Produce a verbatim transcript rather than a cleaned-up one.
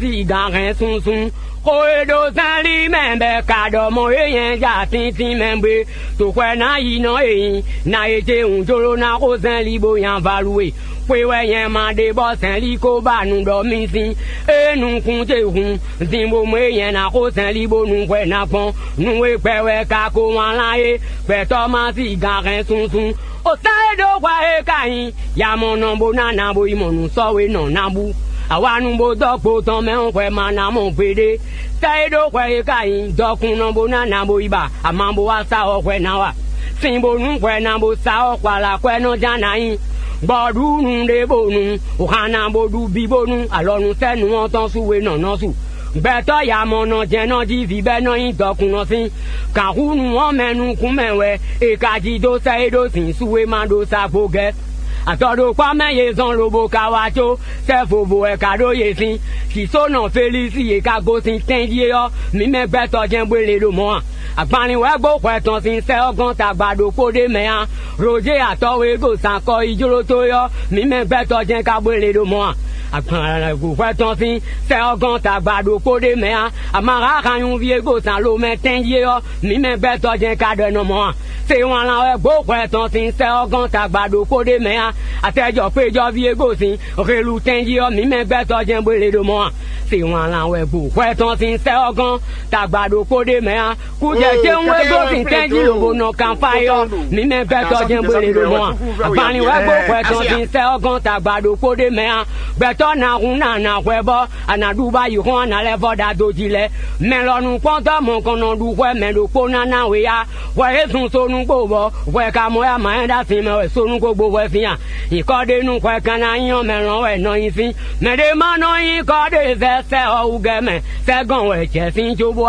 Sigan hɛn sunsun. Xó e ɖo zɛ́nlí mɛ bɔ è ka ɖɔ mɔ é nyɛ ja tíntín mɛ gbe. Toxwɛ ná yi nɔ e nyi na e ce hǔn jló ná xó zɛ́nlí bó nya valu e. Xwe wɛ nyɛ ma ɖe bɔ zɛ̌nlí ko ba nu ɖɔ mì sín. Ée nukún ce hun, din bo mɔ e nyɛ ná xó zɛ̌nlí bónú hwɛ ná gbɔn. Nú e gbɛ wɛ ka ko wlán é, gbɛtɔ́ ma sigan hɛn sunsun. O sán e ɖó hwɛ é ka nyí, yamɔnɔ bó ná ná bo yi mɔ nǔ sɔ́ we nɔ ná bú. Awanu bó dɔ́ gbo tɔn mɛ ɔ́ hwɛ ma ná mɔ gbeɖé. Sɛ́ e ɖó hwɛ é ka nyí, dɔkunnɔ bó ná ná bo yi ba ama bó wá sa ɔ́ hwɛ ná wa. Sin bónú hwɛ ná bó sa ɔ́ hwala hwɛ nɔ ján ná nyí. Bɔ ɖu nǔɖé bónú, hǎn ná bó ɖu bí bónú alɔnusɛ́nu ɔ́ tɔn sú we nɔ nɔ su. Gbɛtɔ́ yamɔnɔ jɛ́n nɔ jí vǐ bɛ́ nɔ nyí dɔkunnɔ sín. Gǎnhúnu ɔ́ mɛ nukún mɛ wɛ è ka jí dó sɛ́ é ɖó zǐn su e ma ɖó sa gbo gɛ́. Azɔ̌ ɖokpá mɛ yě zɔn lobo ka wá có sɛ́ vovo wɛ ka ɖó yě sín. Sisónɔ Felísi yě ka gosín tɛ́n jí é ɔ́, mǐ mɛ gbɛtɔ́ jɛ́n bó lě ɖo mɔ̌ a? Agbanlin wɛ gbó hwɛ tɔn sín sɛ́ ɔ́ gɔ́n tagba ɖokpó ɖé mɛ á. Roje atɔ́ e ɖo zǎn kɔ yi jló tó é ɔ́, mǐ mɛ gbɛtɔ́ jɛ́n ka bó lě ɖo mɔ̌ a? Agbanlin wɛ gbó hwɛ tɔn sín sɛ́ ɔ́ gɔ́n tagba ɖokpó ɖé mɛ á. Amaha hanyuví e ɖo zǎn lo mɛ tɛ́n jí é ɔ́, mǐ mɛ gbɛtɔ́ jɛ́n ka ɖɔ nɔ mɔ̌ a? Se wlán wɛ gbó hwɛ tɔn sín sɛ́ ɔ́ gɔ́n tagba ɖokpó ɖé mɛ á. Atɛjɔ xwéjɔví e gosín helu tɛn jí ɔ́, mǐ mɛ gbɛtɔ́ jɛ́n bó lě ɖo mɔ̌ a? Se wlán wɛ gbó hwɛ tɔn sín sɛ́ ɔ́ gɔ́n tagba ɖokpó ɖé mɛ á. Kújɛ céwún e gosín tɛn jí lobo nɔ kanfá é ɔ́, mǐ mɛ gbɛtɔ́ jɛ́n bó lě ɖo mɔ̌ a? Agbanlin wɛ gbó hwɛ tɔn sín sɛ́ ɔ́ gɔ́n tagba ɖokpó ɖé mɛ á. Gbɛtɔ́ ná hun ná ná hwɛ bɔ a nǎ ɖu bá yi xɔ́n a nǎ lɛ́ vɔ ɖa dó jí lɛ́ɛ. Mɛ lɔ nukpɔ́ntɔ́ mɔ̌kɔn nɔ ɖu hwɛ mɛ ɖokpó ná ná we á. Hwɛ é zun sonu kpo bɔ hwɛ ka mɔ yá ma nyɛ ɖo asin mɛ wɛ sonu ko gbo hwɛ sín a? Nyǐkɔ ɖé nú hwɛ kan ná nyí ɔ́, mɛ lɔn wɛ nɔ nyi sín. Mɛɖé ma nɔ nyí kɔ ɖe zɛ sɛ ɔ́ wú gɛ́ mɛ. Sɛ́gɔn wɛ jɛ sín cóbó